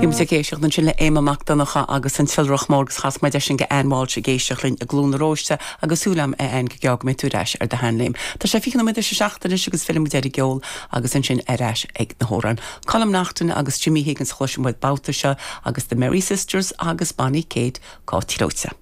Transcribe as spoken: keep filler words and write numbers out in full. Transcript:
Bhí muid ag éisteacht ansin le Éamonn Mac Donncha agus an tIolrach Mór agus chas muid eisin go Ann Walsh ag éisteacht linn i gCluain na Róiste agus súil agam a Ann go gearr go mbeidh tú ar ais ar do sheanléim. Tá sé fiche nóiméad tar éis a seacht anois agus fillfimid ar an gceol agus ansin ar ais ag na hamhráin. Colm Naughton agus Jimmy Higgins chloisfidh muid babhta seo agus the Merry Sisters agus Bonnie Kate Cáit Leoite.